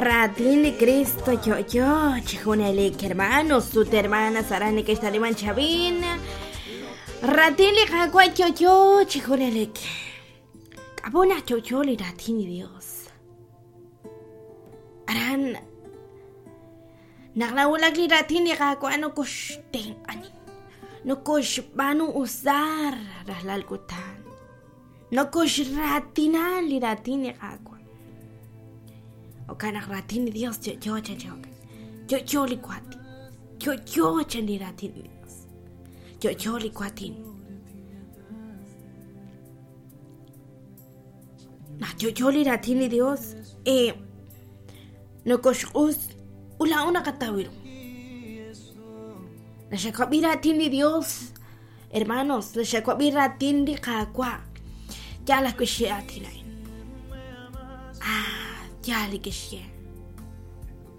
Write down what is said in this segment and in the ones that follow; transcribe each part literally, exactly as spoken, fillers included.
Raatin li Cristo yo'yo chi junelik, hermanos ut hermanas aran neke'xtaliman chab'in. Raatin li Qaawa' yo'yo chi junelik. K'ab'o naq yo'yo li raatin li Dios. Aran naq nawulak li raatin li Qaawa' nokoxtenq'ani, nokoxb'aanu usar rajlal kutan, nokoxraatina li raatin li Qaawa'. Jo'kan naq raatin li Dios yo'yo chan chi yo'yo li waatin, yo'yo chan li raatin li Dios, yo'yo li waatin. Naq yo'yo li raatin li Dios, eh, nokoxq'us ulaa'o naqataw ru. Naxak'ab'i raatin li Dios, hermanos, naxak'ab'i raatin li Qaawa'. Yaal ajwi' xye aatin a'in. Ah, yaal li kixye.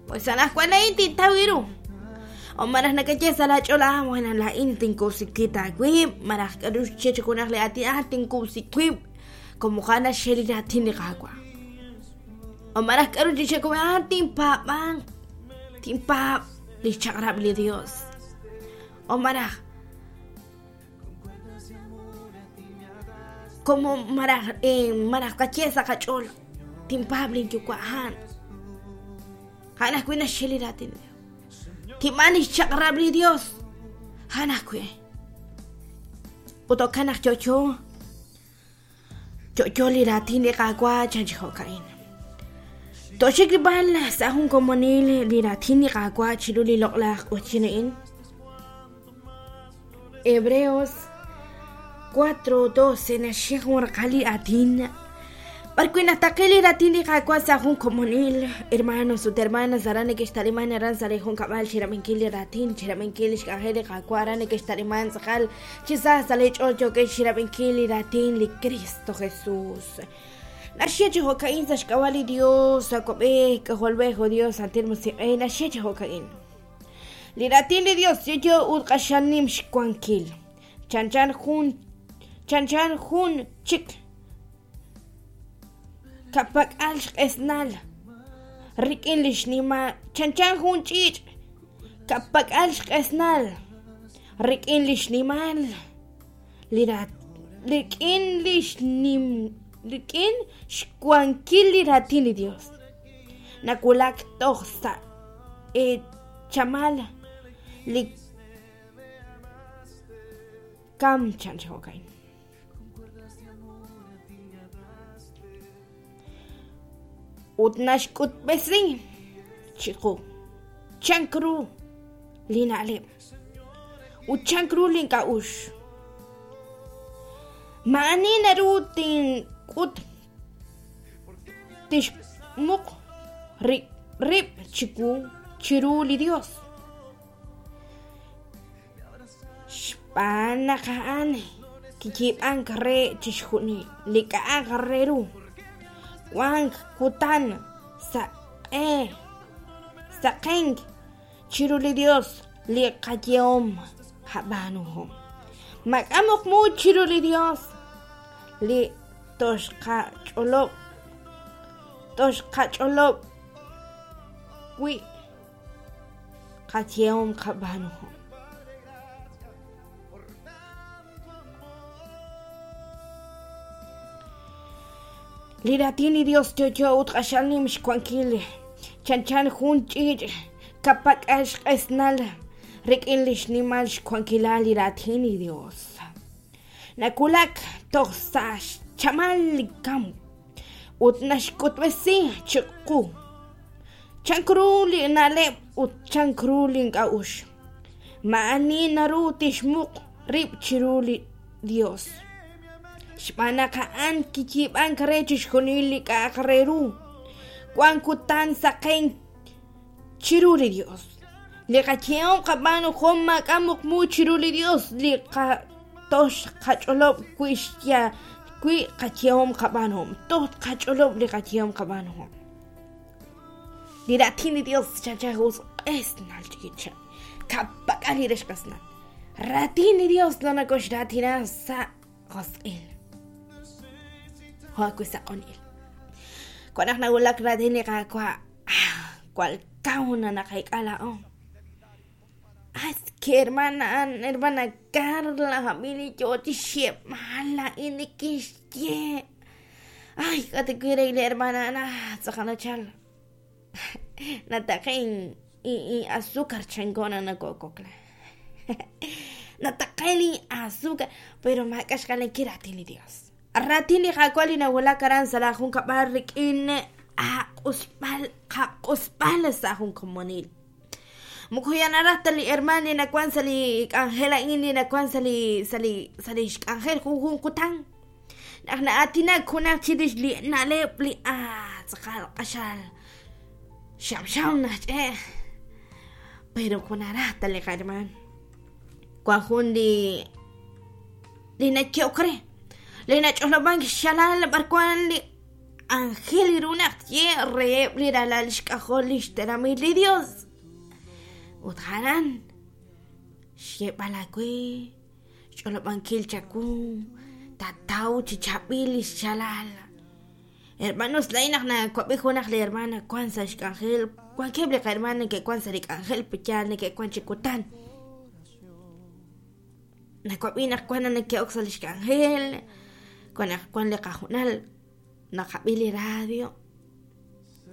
Pues anaqwan laa'in tintaw ru. O maraj nakaye sa' laach'ool, ah, bueno, laa'in tinkuwsi aawib', maraj k'aru xye chi junaq li aatin, ah, tinkuwsi wib', como jan naxye li raatin li Qaawa'. O maraj k'aru chi xye, ah, tinpaab'an, tinpaab' li xchaq'rab' li Dios. O maraj como maraj eh, maraj qaye sa' qach'ool, tinpaab' linyuwa' a'an. A'an ajwi' naxye li raatin li Dios. Tinb'aan li xchaq'rab' li Dios. A'an ajwi'. Ut jo'kan naq yo'yo, yo'yo li raatin li Qaawa' chan chi jo'ka'in. Toxik b'al sa' jun komonil li raatin li Qaawa' chiru li loq'laj q'oqyin a'in. Hebreos cuatro doce naxye jun raqal li aatin. B'arwi' naqtaqi li raatin li Qaawa' sa' jun komonil, hermanos ut hermanas aran neke'xtaliman aran sa' li junkab'al chirab'inkil li raatin, chirab'inkil li xk'anjel li Qaawa' aran neke'xtaliman tz'aqal chi sa sa' li ch'ool yookex chirab'inkil li raatin li Cristo Jesús. Naxye chi jo'ka'in sa' xk'ab'a' li Dios, Awab'ej, K'ajolb'ej, o Dios, Santil Musiq'ej, naxye chi jo'ka'in. Li raatin li Dios yo'yo ut q'axal nim xwankil. Chanchan jun, chanchan jun chik ka'pak'al xq'esnal rik'in li xnimal, chanchan jun ch'iich' ka'pak'al xq'esnal rik'in li xnimal li rat, rik'in li xnim, rik'in xwankil li raatin li Dios. Nawulak toj sa' e chamal li kam chan chi jo'ka'in. Ut naxk'utb'esi chiqu chank ru li na'leb' ut chank ru li ink'a'ux. Ma'ani naru tink'ut tixmuq rib' chiwu chiru li Dios. Xb'aan naq a'an kiyiib'ank re chixjunil li k'a'aq re ru. Wank kutan saq'e saqenk chiru li Dios li qayehom qab'aanuhom. Maak'a' muqmu chiru li Dios li toxqach'olob' toxqach'olob' wi' qayehom qab'aanuhom. Li raatin li Dios yo'yo ut q'axal nim xwankil, chanchan jun ch'iich' ka'pak'al xq'esnal rik'in li xnimal xwankilal li raatin li Dios. Nawulak toj sa' xchamal li kam ut naxk'utb'esi chiqu chank ru li na'leb' ut chank ru li ink'a'ux. Ma'ani naru tixmuq rib' chiru li Dios. Xb'aan naq a'an kiyiib'ank re chixjunil li k'a'aq re ru. Wank kutan saqenk chiru li Dios. Li qayehom qab'aanuhom maak'a' muqmu chiru li Dios li qatox qach'olob' wi' xya wi' qayehom qab'aanuhom. Toj qach'olob' li qayehom qab'aanuhom. Li raatin li Dios chanchan jun q'esnal ch'iich'. Ka'pak'al li rex q'esnal. Raatin li Dios nanakoxraatina sa' josq'il. Jo'ajwi' sa' q'unil. Wan naq nawulak raatin li Qaawa', Jwal kaw na naqeek'a laa'o. Aske hermana, hermana Carla, hab'ili yoo chixyeeb'al laa'in nikixye. Ay, k'atikui li hermana na tz'aqal nachal. Nataqe in azúcar chankona nakokokla. Nataqe li azúcar, pero maak'a xq'alenkil raatin li Dios. Raatin li Qaawa' li nawulak aran sa' la junkab'al rik'in aq'usb'al qaq'usb'al sa' jun komonil. Moko yanaraj ta li hermana li nawan sa' li k'anjel a'in li nawan sa' li sa' li sa' li xk'anjel junjun kutan. Naq na'aatinak junaq chirix li na'leb' li ah tz'aqal q'axal xamxam naxch'e'. Pero kunaraj ta li qaherman. Wan jun li li naye'ok re li nach'olob'ank xalal b'arwan li ángel ru naq tye reheb' li ralal xk'ajol li xtenamit li Dios. Ut jaran xyeeb'al aawe xch'olob'ankil chawu tataw chi chaab'il li xchalal. Hermanos, laa'in naq nawab'i junaq li hermana wan sa' xk'anjel, wankeb' li qahermana neke'wan sa' li k'anjel yaal neke'wan chi kutan. Nawab'i naq wan neke'ok sa' li xk'anjel, wan naq wan li qajunal naqab'i li radio,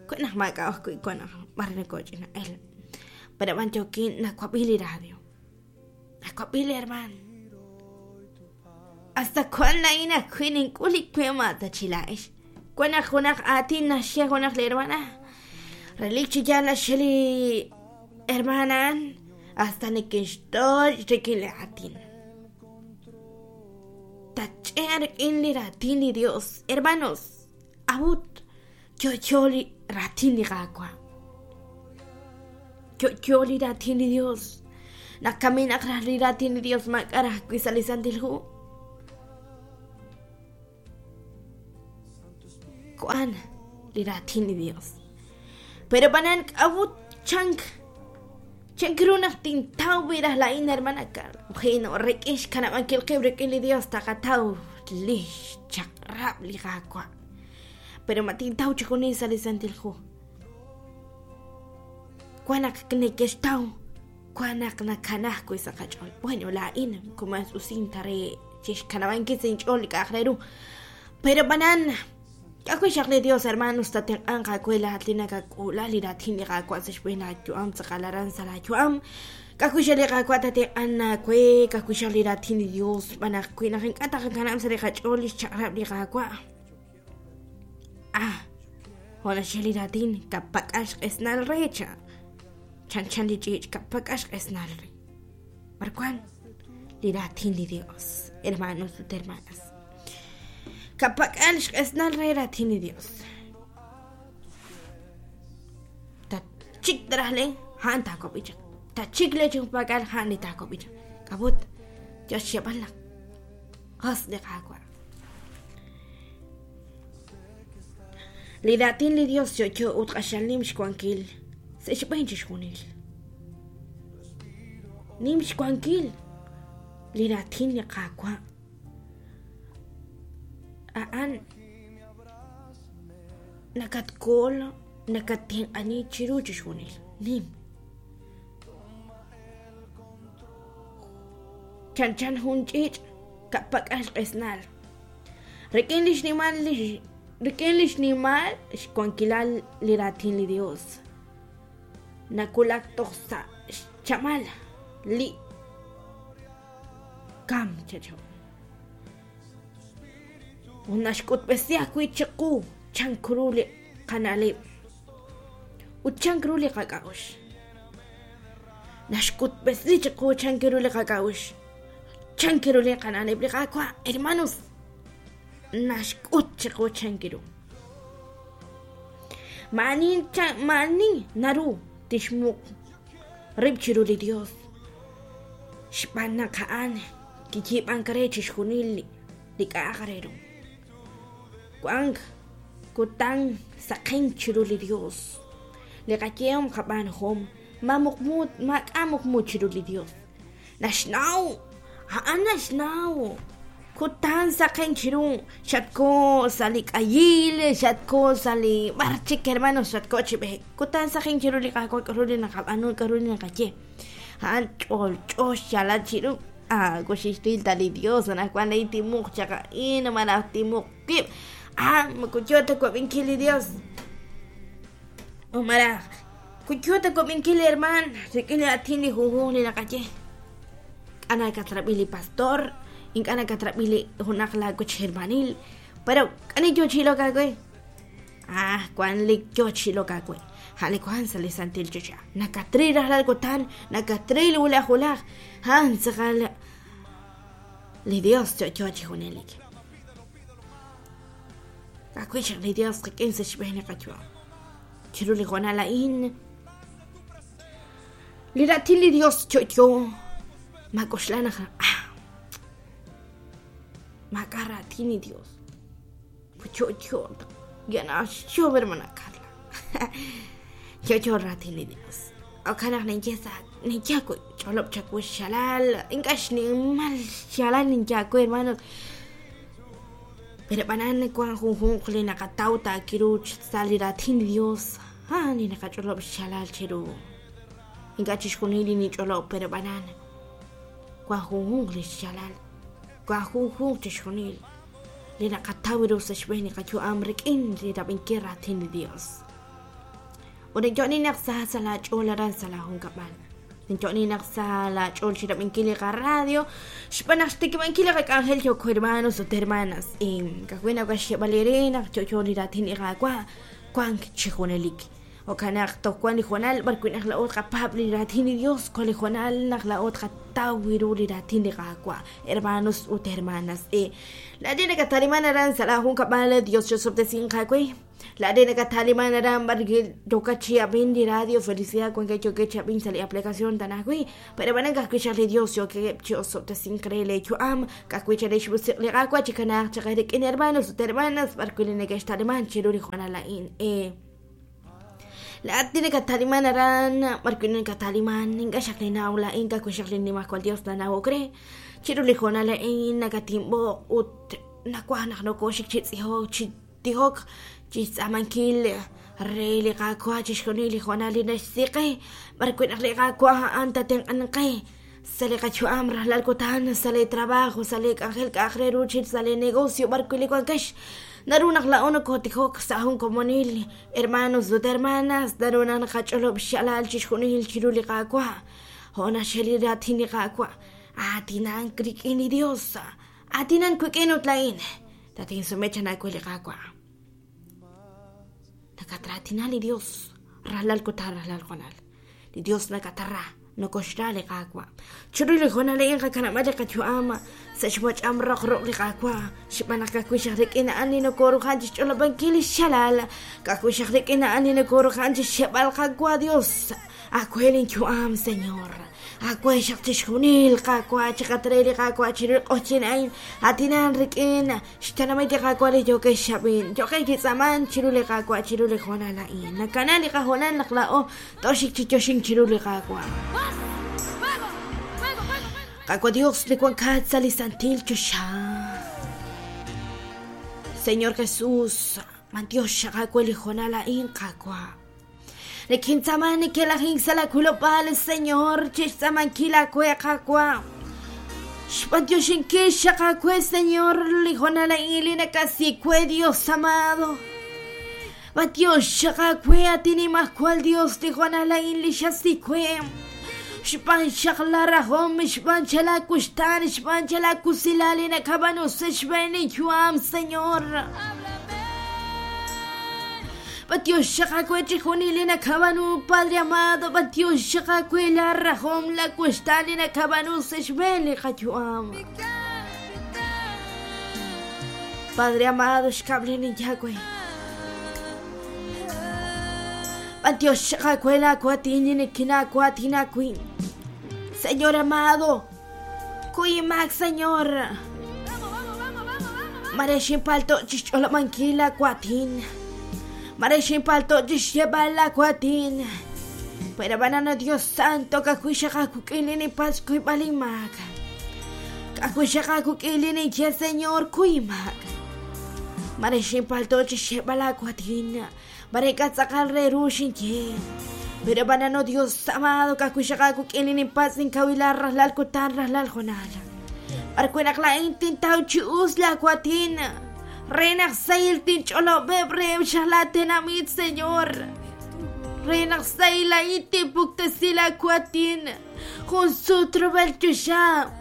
wan naq maak'a' ajwi' wan naq b'ar nakooch'ina'el. Pero b'an yookin nawab'i li radio. Nawab'i li herman. Hasta wan laa'in ajwi' nink'ul li we ma ta chi laa'ex. Wan naq junaq aatin naxye junaq li hermana. Relik chi yaal naxye li hermana hasta neke'xtoch' rik'in li aatin. Tach'e' rik'in li raatin li Dios. Hermanos, awut yo'yo li raatin li Qaawa'. Yo'yo li raatin li Dios. Naq kaminaq raj li raatin li Dios maak'a raj ajwi' sa' li Santil Hu. Wan li raatin li Dios. Pero b'anan k'awut chank chank ru naq tintaw wi raj laa'in hermana Carla. Bueno, rik'in xkanab'ankil qib' rik'in li Dios taqataw li xchaq'rab' li Qaawa'. Pero ma tintaw chi junil sa' li Santil Hu. Wan naq neke'xtaw, wan naq nakanaj wi' sa' qach'ool. Bueno, laa'in kumas usin ta re chixkanab'ankil sa' inch'ool li k'a'aq re ru. Pero b'anan k'a'wi xaq li Dios, hermanos, tatenq'anq aawe laat li nakak'uula li raatin li Qaawa' sa' xb'een laayu'am tz'aqal aran sa' laayu'am. K'a'wi xaq li Qaawa' tatenq'an aawe, k'a'wi xaq li raatin li Dios, xb'aan naq wi naq ink'a' taqakanab' sa' li qach'ool li xchaq'rab' li Qaawa'. Ah, jo' naxye li raatin, kapak'al xq'esnal re cha. Chan chan li ch'iich' kapak'al xq'esnal re. B'arwan li raatin li Dios, hermanos ut hermanas. Kapak'al xq'esnal re raatin li Dios. Tachik taraj le ha'an taakob'i chaq. Tachik le chi junpak'al ha'an li taakob'i chaq. K'ab'ut yo xyeeb'al naq qas li Qaawa'. Li raatin li Dios yo'yo ut q'axal nim xwankil sa' xb'een chixjunil. Nim xwankil li raatin li Qaawa'. A'an nakatkool nakatenq'ani chiru chixjunil. Nim. Chanchan jun ch'iich' kapak'al xq'esnal. Rik'in li xnimal li rik'in li xnimal xwankilal li raatin li Dios. Nakulak toj sa' xchamal li kam chacho. Ut naxk'utb'esi ajwi' chiqu chank ru li qana'leb' ut chank ru li qak'a'uxl. Naxk'utb'esi chiqu chank ru li qak'a'uxl, chank ru li qana'leb' li Qaawa', hermanos. Naxk'ut chiqu chank ru. Ma'ani ma'ani naru tixmuq rib' chiru li Dios. Xb'aan naq a'an kiyiib'ank re chixjunil li k'a'aq re ru. Wank kutan saqen chiru li Dios. Li qayehom qab'aanhom ma muqmu maak'a' muqmu chiru li Dios. Naxnaw, a'an naxnaw. Kutan saqen chiru xatko sa' li k'ayil, xatko sa' li b'ar chik hermanos, xatko chi b'eek. Kutan saqen chiru li Qaawa' k'aru li naqab'aanu, k'aru li naqaye. A'an ch'olch'o xyaalal chiru. Ah, kuxixtil ta li Dios, anaqwan lay timuq chaq a'in, malaj timuq wib'. Ah, moko yo ta wab'inkil li Dios. O malaj kuyo ta wab'inkil li herman, rik'in li aatin li junjunq li naqaye. K'a nakatrab'i li pastor, ink'a' nakatrab'i li junaq laawech hermanil, pero k'ani yo chi ilok aawe. Ah, wan li yo chi ilok aawe. Ja'li wan sa' li santil choxa. Nakatril rajlal kutan, nakatril wulaj wulaj. A'an tz'aqal li Dios yo'yo chi junelik. Ka'ajwi' xaq li Dios qik'in sa' xb'een li qayu'am. Chiru li hoonal a'in, li raatin li Dios yo'yo, mak'oxla naq ah, maak'a' raatin li Dios. Yo'yo, yana xyob hermana Carla. Yo'yo raatin li Dios. Jo'kan naq ninye sa' ninye wi' ch'olob' chawu xyaalal, ink'a' xnimal xyaalal ninye aawe hermanos. Pero b'anan wan junjunq li naqataw taakiru sa' li raatin li Dios, a'an li naqach'olob' xyaalal chiru. Ink'a' chixjunil li nich'olob', pero b'anan wan junjunq li xyaalal, wan junjunq chixjunil li naqataw ru sa' xb'een li qayu'am rik'in li rab'inkil raatin li Dios. Ut ninyo'ni naq sa sa' laach'ool aran sa' laajunkab'al. Ninyo'ni naq sa laach'ool chi rab'inkil li qaradio, xb'aan naq xtikib'ankil li qak'anjel yooko hermanos ut hermanas. Ka'ajwi' nawaj xyeeb'al eere naq yo'yo li raatin li Qaawa' wank chi junelik. Jo'kan naq toj wan li hoonal b'ar wi' naq laa'o tqapaab' li raatin li Dios, wan li hoonal naq laa'o tqataw ru li raatin li Qaawa', hermanos ut hermanas. Laa'in nakataliman aran sa' laajunkab'al, Dios chosob'tesinq aawe. Laa'in nakataliman aran b'ar yokat chi ab'in li radio Felicidad, wankeb' yookeb' chi ab'in sa' li aplicación tanajwi', pero b'anan ka'ajwi' xaq li Dios yookeb' chi osob'tesink re leeyu'am, ka'ajwi' chalen xmusiq' li Qaawa' chi kanaaq chaq rik'in hermanos ut hermanas b'ar wi' li neke'xtaliman chiru li hoonal a'in. Laa'at li nakataliman aran b'ar wi' nakataliman, ink'a' xaq ninnaw laa'in, ka'ajwi' xaq li Nimajwal Dios nanawok re. Chiru li hoonal a'in nakatinb'oq ut nawaj naq nokooxik chi tz'ijok, chi tijok, chi xtz'aamankil re li Qaawa' chixjunil li hoonal li naxsiqe, b'ar wi' naq li Qaawa' a'an tatenq'anqe sa' li qayu'am rajlal kutan, sa' li trabajo, sa' li k'anjel k'a'aq re ru chi sa' li negocio b'ar wi' li wankex. Naru naq laa'o nokotijok sa' jun komonil, hermanos ut hermanas, naru naq naqach'olob' xyaalal chixjunil chiru li Qaawa'. Jo' naxye li raatin li Qaawa', aatinank rik'in li Dios, aatinank wik'in ut laa'in, tatinsume chanaawe li Qaawa'. Nakatraatina li Dios, rajlal kutan, rajlal hoonal. Li Dios nakatarra, nokoxra li Qaawa'. Chiru li hoonal a'in qakanab'al li qayu'am sa' xwach'am roq ruq' li Qaawa', xb'aan naq ka'ajwi' xaq rik'in a'an li nokorujan chi xch'olob'ankil li xyaalal, ka'ajwi' xaq rik'in a'an li nokorujan chi xyeeb'al Qaawa' Dios, aawe linyu'am, Señor. Aawe xaq chixjunil Qaawa', chiqatre li Qaawa' chiru li q'oqyin a'in, atinan rik'in xtenamit li Qaawa' li yookeb' xxab'in, yookeb' chi tz'aaman chiru li Qaawa' chiru li hoonal a'in. Nakana li qahoonal naq laa'o tooxik chi yoxink chiru li Qaawa'. Qaawa' Dios li wankat sa' li santil choxa. Señor Jesús, mantiox xaq aawe li hoonal a'in, Qaawa'. Nekintz'aaman nekelajink sa' laawilob'aal, Señor, chi xtz'aamankil aawe, Qaawa'. Xb'antioxinkil xaq aawe, Señor, li hoonal a'in li nakasik we, Dios amado. B'antiox xaq aawe, atinimajwal Dios, li hoonal a'in li xasik we. Xb'aan xaq la rajom, xb'aan xalaakuxtaan, xb'aan xalaakusilal li nakab'aanu sa' xb'een linyu'am, Señor. B'antiox xaq aawe chixjunil li nakab'aanu, Padre amado, b'antiox xaq aawe la rajom, la kuxtaan li nakab'aanu sa' xb'een li qayu'am. Padre amado, xkab' li ninye aawe. B'antiox xaq aawe laawatin li nikinaawatin aawi'. Señor amado, kuyimak, Señor. Mare xinpalto' chi xch'olob'ankil laawatin. Mare xinpalto' chi xyeeb'al laawatin. Pero banano Dios Santo, ka'ajwi' xaq aawik'in li ninpatz' kuyb'al inmaak. K'akuxaqa kuk'ilin inche Señor kuymak. Mare ximpalto chixeb'ala kuatin. Mare k'atz'aqal re ru xinye. Pero banano Dios amado k'akuxaqa kuk'ilin inpatz inkawila rajlal kutan rajlal jonal. Arkuenaq la'in tintaw chi us la kuatin. Renaq sayil tinch'olob'eb reb xajla tenamit Señor. Renaq sayil la'in tinpuktesi la kuatin. Jun sutro bel chuxa.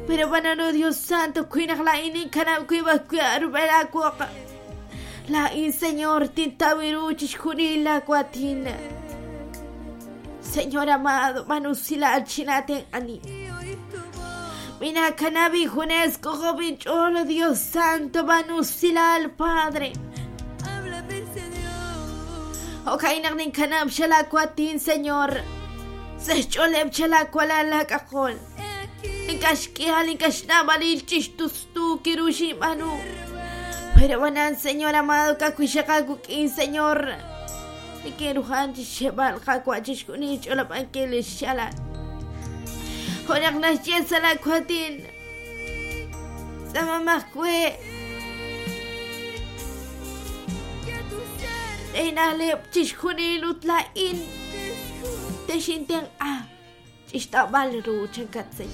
Pero banano Dios Santo kuinaq la'in inkanab kuibaj kuarub'el akuaq. La'in Señor tintawiru chixjunil la kuatin. Señor amado, manusila chinaten ani. Mina kanabi junesco joven cholo Dios Santo manusila al Padre. Okay naqnin kanab shala kuatin Señor. Se choleb chala kuala la kakol. Inkashkihal inkashnabalil chishtustu kirushi manu. Pero banan Señor amado kakuishakakukin Señor. Ikeruhan chishebal kakuachishkuni cholapankelis shala. Jonak nasye la kuatin. Sama makwe. Einalep chishkuni lutlain. Teshinten a. Chishtabal ru chankatse.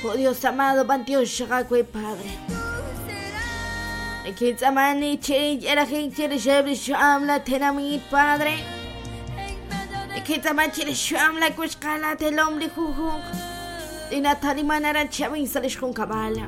Oh Dios amado, Dios shakwe Padre. Kitsamani chiri erajin chiri shebri shuam la tenamit Padre. Kitsaman chiri shuam la kushkala telomri juju. Inatalimanara chavin salishkun kabala.